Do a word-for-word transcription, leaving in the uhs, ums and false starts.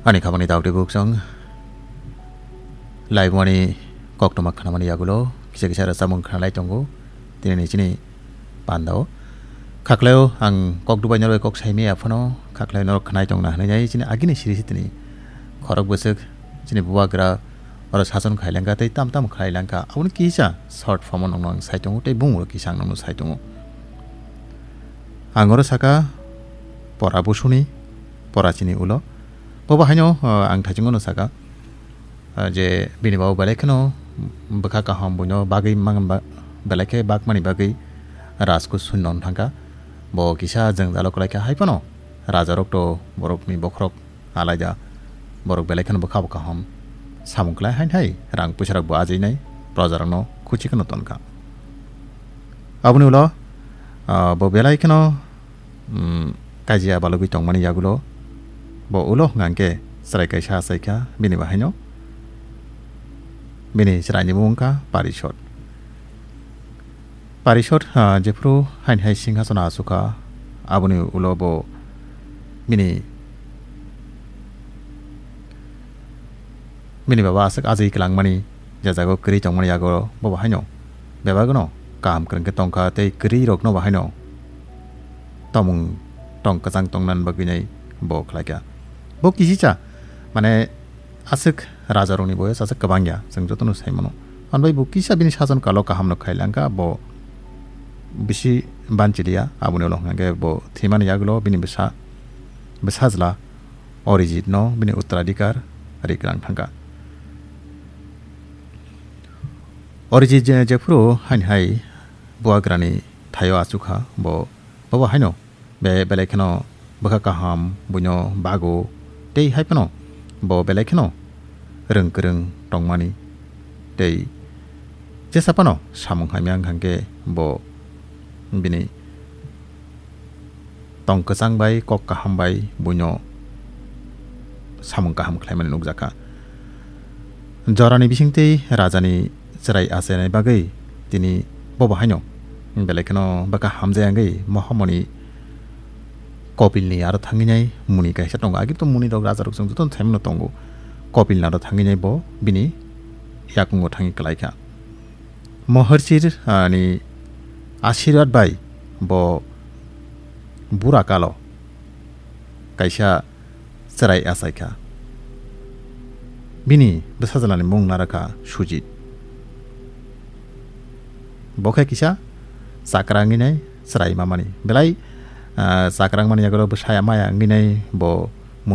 Ani khamani daudi buksong laibumani koktwma khnamani yagulo kisa kisa rwchapmung khnalai tongo tini ni chini pandao. Khaklaio ang kok dubai norbai kok saimaya phano khaklaio norok khnai tongna hwnwi nai chini agini siri sitini khorok bwswk chini bubagra oro sason khailangkha tei tam tam khlailangkha aboni kisa short form o nokno ang sai tongo tei bumung kisa ang nokno sai tongo. Ang oro saka pora busuni pora chini ulo. Bobo haino, uh, ang thaichungo no saka, uh, je bini babu belai kheno bwkha kaham buino bagwi mang ba-, belai khe bakmani bagwi rajkut sunno thangkha. Bo kisa jwngjalo kwlai kha hai phano rajarok to borokni bokhorok alaida borok belai kheno bwkha bo kaham samung khlai hain hai rang puisa rok bo ajinai proja rokno khuchi kheno tonkha. Aboni ulo, ah, bo belai kheno, mm, kajia balugwi tongmani yagulo bo ulo hwnka hwnkhe chwrai kaisa achaikha bini bahaino. Bini chwraini mung wngkha Parishot. Parishot, ah, jephru haini hai singhasono achukha, aboni ulo bo bini, bini baba aswk ajwi kwlangmani, je jago kwrwi tongmani yago bo bahaino bebagno kaham kwrwng khe tongkha tei kwrwi rokno bahaino tomung tong kwchang tongna bagwi nai bo khlaikha. Bo kisicha mane aswk rajarokni boyos aswk kwbang ya, chwng jotono sai mano. Manbai bo kisa bini sason kalo kaham no khai langkha, bo bisi banchiliya, aboni ulo hwnkhe bo thwimani yagulo bini bwsa, bwsajla Orijit no bini uttaradhikar ri kwlang thangkha. Orijit je, jephru haini hai bubagrani thaio achukha, bo, bobo haino be-, belai kheno bwkha kaham buino bago tei hai phano bo belai kheno rwng kwrwng tongmani tei jesa phano samung hamya wngkha hwnkhe bo bini tong kwchang bai kok kaham bai buino samung kaham khlaimani nukjakha. Jorani bisingtwi rajani chwrai achainai bagwi tini bobo haino belai kheno bwkha hamjai wngwi Mohamoni Kopilni aro thangwi nai muni kaisa tongo. Agi to muni rok raja rok chwng jotono thaimano tongo. Kopilni aro thangwi nai bo bini yakungo thangwi kwlaikha. Moharchir, ah, ni asirwad bai bo bura kalo kaisa chwrai achaikha. Bini bwsajalani mung narakha Sujit. Bo khe kisa chakra wngwi nai chwrai mamani. Belai, ah, chakra wngmani yagulo bwsaya maya wngwi nai bo